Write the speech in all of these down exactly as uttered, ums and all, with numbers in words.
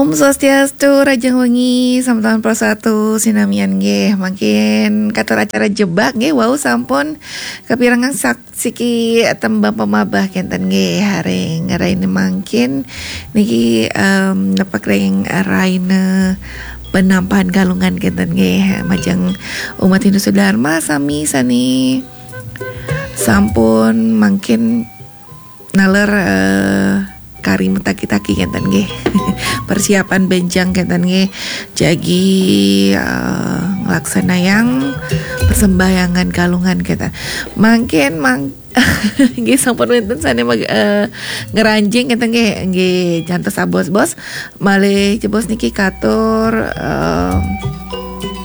Om Swastiastu, rahajeng wengi, sampun pro satu sinamian nggih. Mangkin katur acara jebak nggih, wau sampun kapirengang sak-, siki tembang pamabah kenten nggih, ring raina mangkin niki, em, nepek ring raina penampahan Galungan kenten nggih. Majeng umat Hindu Sudharma sami sane sampun mangkin naler, eh, kari metaki-taki kenten nggih. Persiapan benjang kenten nggih. Jagi, eh, nglaksanayang persembahyangan Galungan kenten. Mangkin mang-, nggih sampun wenten sane mag-, eh, ngranjing kenten nggih. Nggih, jantos abos-bos. Malih jebos niki katur, eh,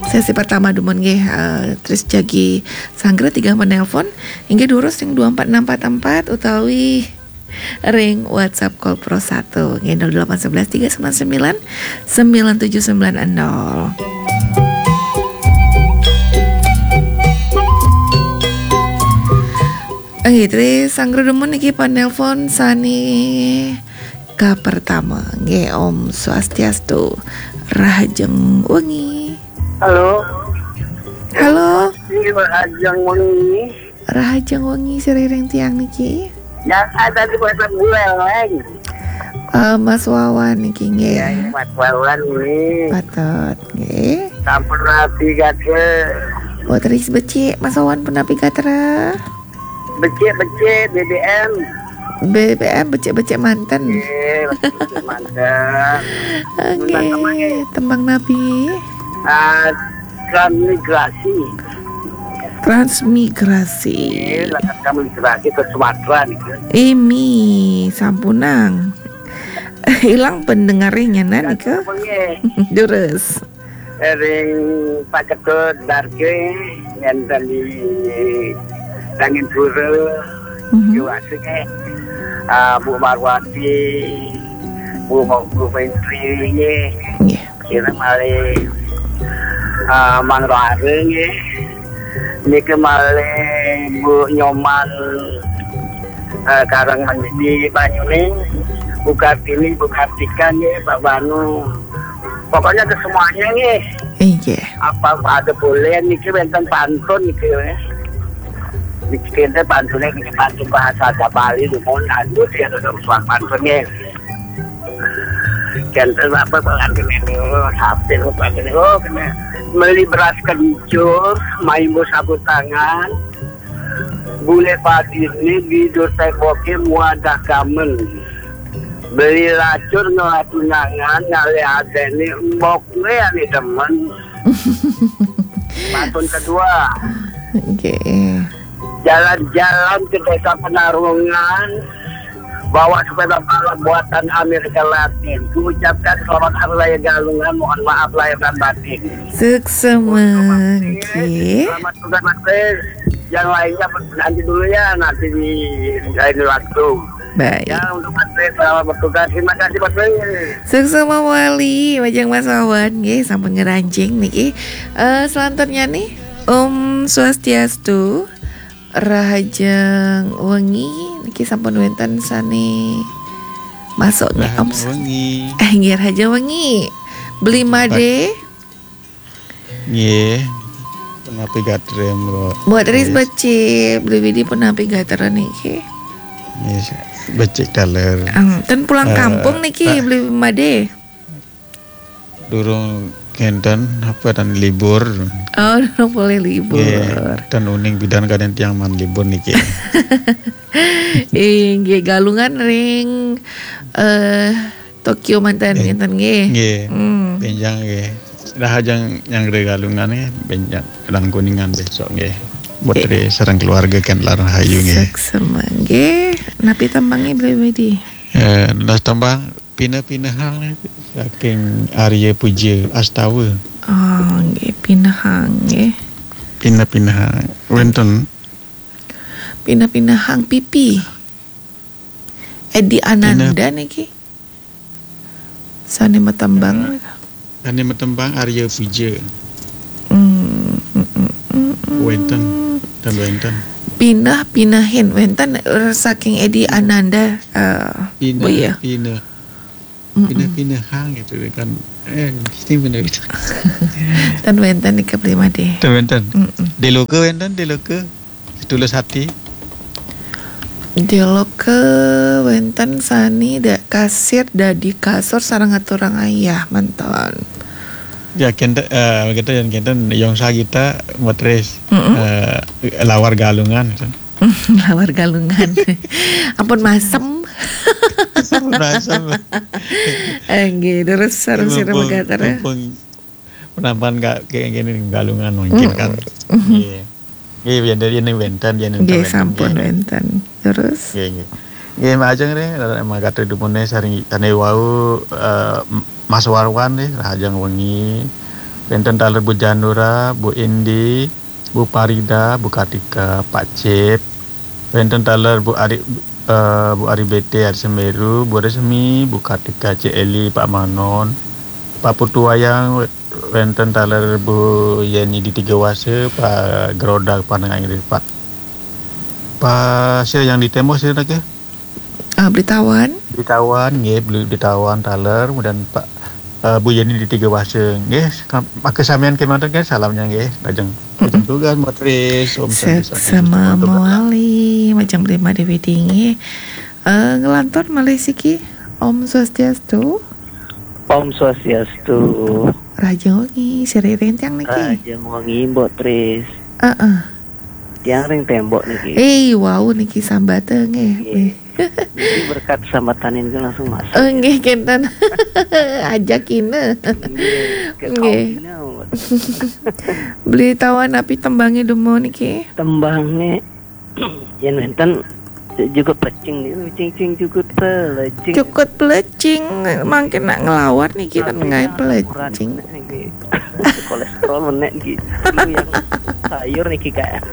sesi pertama dumun nggih, eh, terus jagi sanggra tiga menelpon. Inggih durus ring dua empat enam empat empat utawi ring WhatsApp Call Pro satu. Nggih, nol delapan sebelas tiga sembilan sembilan sembilan tujuh sembilan nol. Nggih, tri sanggra dumun niki panelpon sane kapertama. Nggih, Om Swastiastu. Rahajeng wengi. Halo. Halo. Iya, Pak Ajeng wengi. Rahajeng wengi siriring tiang niki. Yang ada di kota Buleleng. Eh, Mas Wawan niki nggih. Ya, Mas Wawan ini. Patut nggih. Sampun rapi gatra. Wah, terus becik Mas Wawan pun rapi gatra. Becik-becik B B M. B B M becik-becik manten. Nggih, becik-becik manten. Nggih, tembang napi? Ah, transmigrasi. Transmigrasi. Nggih, lakat transmigrasi ke Sumatera niku. Imi, sampunang. Ilang pendengarnya nana niku. Nggih. Durus. Ring Pak Ketut Darke, ngenten di Tanjung Pura, Mhm. Jawasik, eh. Ah, Bu Marwati, Bu Mo-, Bu Menteri, nggih. Nggih. Kira malih, ah, Mang Roare, nggih. Niki malih Bu Nyoman, eh, Karang di Banyuning, Bu Kartini, Bu Kartika, nggih, Pak Banu. Pokoknya ke semuanya, nggih. Inggih. Apa ada boleh niki wenten pantun niki, nggih. Niki enten pantune niki pantun bahasa Bali dumun anu ya, suang pantun, nggih. Janten apa pengantin ini, oh, sampai lupa ini, oh, kena beli beras kencur, main sapu tangan, bule padine, bidur teboke, muadah kamen. Beli lacur ngelah tunangan, ngalih adene, mbok gue ane demen. Pantun kedua. Oke. Jalan-jalan ke desa Penarungan, bawa sepeda balap buatan Amerika Latin. Kuucapkan selamat Hari Raya Galungan, mohon maaf lahir dan batin. Sukses, Mangki. Selamat tugas, Mas Pris. Yang lainnya nanti dulu ya, nanti di lain waktu. Baik. Ya, untuk Mas Pris, selamat bertugas. Terima kasih, Mas Pris. Sukses, Mama Wali, majeng Mas Wawan, nggih, sampun ngranjing niki. Eh, selanjutnya nih, Om Swastiastu, rahajeng wengi, niki sampun wenten sane masuk nih, Om. Rahajeng wengi. Eh, nggih, rahajeng wengi. Beli Made. Nggih. Punapi gatra, Mbok? Mbok Tris becik, Beli Widi punapi gatra niki? Nggih, becik taler. Em, ten pulang Eh, kampung niki, eh. Beli Made? Durung kenten apa dan libur. Oh, durung boleh libur. Nggih, ten uning bidan kaden tiang man libur niki. Inggih, Galungan ring, eh, Tokyo manten, nggih. Ngenten nggih. Nggih. Hmm. Benjang nggih. Rahajeng nyanggra Galungan nggih, benjang Langkuningan besok nggih. Putri sareng keluarga kan larang hayu nggih. Sukses nggih. Napi tembange Beli Widi? Eh, nas tembang Pineh-pinehang saking Arya Puja Astawa. Oh, nggih, pinehang nggih. Pineh-pinehang. Wenten. Pineh-pinehang pipi. Edi Ananda niki. Sane matembang. Sane matembang Arya Puja. Hmm, mm, mm, mm, mm. Wenten, ten wenten. Pineh, pinehin wenten, eh, saking Edi Ananda, eh, pineh, Bu, ya. Pineh. Mm-mm. Pindah-pindah hang gitu kan. Eh, sing pindah-pindah. Ten wénten niki Bli Madé. Ten wénten. Mm-mm. Deloke wénten, Deloke. Setulus hati. Deloke wénten sami da-, kasir dadi kasur sareng ngaturang ayah manten. Ya, kénten, eh, gitu ya, kénten Yong Sagita, Mbok Tris, Mm-mm. eh, Lawar Galungan, gitu. Lawar Galungan. Ampun masem. Ampun masem. Eh, nggih, terus sareng sira Mumpung, megater, ya. Mumpung penampan ka-, kayak gini, Galungan mungkin kan. Mm-mm. Iya. Nggih, yen dari ini wénten, yen Nggih, wénten, sampun nggih. Wénten. Terus? Nggih, nggih. Nggih, Mbak Ajeng nggih, mekaten dumun sareng tane wau, eh, Mas Warwan nggih, rahajeng wengi. Wénten taler Bu Janura, Bu Indi, Bu Parida, Bu Kartika, Pak Cip. Wénten taler Bu Ari, eh, Bu Ari B T, Ari Semeru, Bu Resmi, Bu Kartika, Cik Eli, Pak Manon, Pak Putu Wayang, wénten taler Bu Yeni di Tiga Wase, Pak Geroda, Panengah Inggris, Pak. Pak, sira yang di Tembok sira nggih? Ah, Beli Tawan. Beli Tawan, nggih, Beli, Beli Tawan taler, kemudian Pak, eh, Bu Yeni di Tiga Wase, nggih, maka samian kemanten nggih, salamnya nggih, lajeng. Mm-mm. Lajeng tugas, Mbok Tris, Om Santi, Santi, Suci, Mantap, mawali, majeng Beli Madé Widi nggih. Eh, ngelantur malih siki, Om Swastiastu. Om Swastiastu. Rahajeng wengi, sira ring tiang niki. Rahajeng wengi, Mbok Tris. Heeh. Tiang ring Tembok niki. Eh, wau niki sambate nggih. Nggih. Niki berkat sambatan niku langsung masuk. Oh, nggih, kénten. Ajakina. Nggih, ke Nggih. Kaumina, Mbok. Beli Tawan, napi tembange dumun niki? Tembange yen wénten Jukut Pelecing niku, cing, cing, jukut pelecing. Jukut pelecing, mangkin nak ngelawar niki kan Tapi ngae ya, pelecing. Nggih. Kolesterol menek nggih. Niku yang sayur niki, Kak.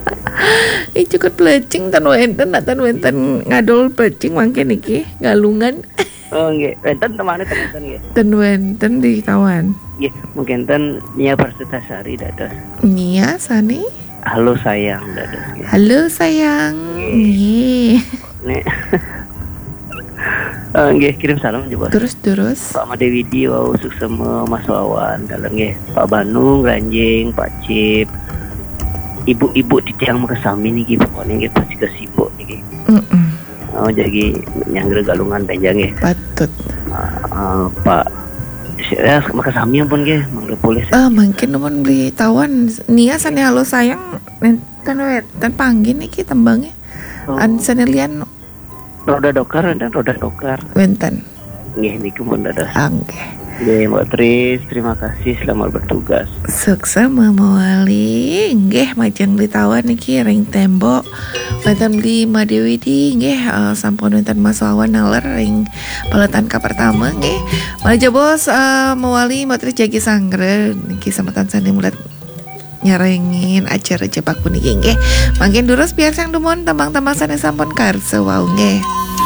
Ih, jukut pelecing ten wénten, nak ten wénten ngadol pelecing mangkin niki, Galungan. Oh, nggih. Wénten temane ten wénten nggih. Ten wénten Beli Tawan. Nggih, mungkin ten Nia Parsutasari dados. Nia sane? Halo sayang dados nggih. Halo sayang. Nggih. Nggih. Nek. Eh, nggih, kirim salam juga. Terus, terus. Pak Madé Widi wau, suksema Mas Wawan, dalam nggih. Pak Banu, Granjing, Pak Cip. Ibu-ibu titiang makasami niki, pokoknya nggih pasti kesibuk niki. Mm-mm. Oh, jadi nyanggra Galungan panjang nggih. Patut. Ah, ah, Pak, ya, makasami ampun nggih, mangga polih. Eh, mungkin nuwun Beli Tawan, Nia sane halo sayang, ten wénten panggih niki tembange. Oh. An sane lian Roda Dokar, wénten Roda Dokar. Wénten. Nggih, niku pun dados. Ah, nggih. Nggih, Mbok Tris, terima kasih, selamat bertugas. Suksema mawali. Nggih, majeng Beli Tawan niki ring Tembok. Wénten Beli Madé Widi, nggih, eh, sampun wénten Mas Wawan naler ring paletan kapertama, nggih. Malih jebos, eh, mawali Mbok Tris jagi sanggra niki sameton sane mulat nyarengin acara Jepak puniki nggih. Mangkin durus piarsang dumun tembang-tembang sane sampun karsa wau nggih.